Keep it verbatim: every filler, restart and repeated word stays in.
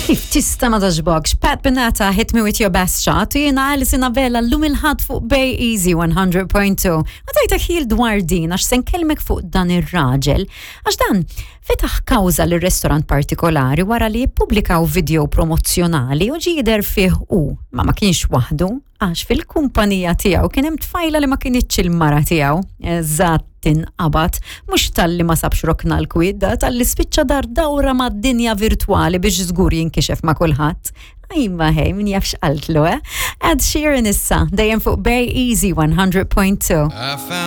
Kif tista' ma togħġbokx? Pat Benatar, "Hit Me With Your Best Shot", u jiena Alison Abela llum il-Ħadd fuq Bay Easy one hundred point two. Ma tajta ħil dwar din għax se nkellmek fuq dan ir-raġel. Għax dan fetaħ kawża l restorant partikolari wara li jippubblikaw video promozzjonali u ġie jidher fih u ma ma kienx waħdu, għax fil-kumpanija tiegħu kien hemm tfajla li ma kinitx il-mara tiegħu. Eżatt, inqabad, mhux talli ma sabx rokna l-kwiet, talli spiċċa dar dawra mad-dinja virtwali biex żgur jinkixef ma' kulħadd. Imma hej, min jaf x'qaltlu, eh? Ed Sheeran issa, dejjem fuq Bay Easy one hundred point two. I found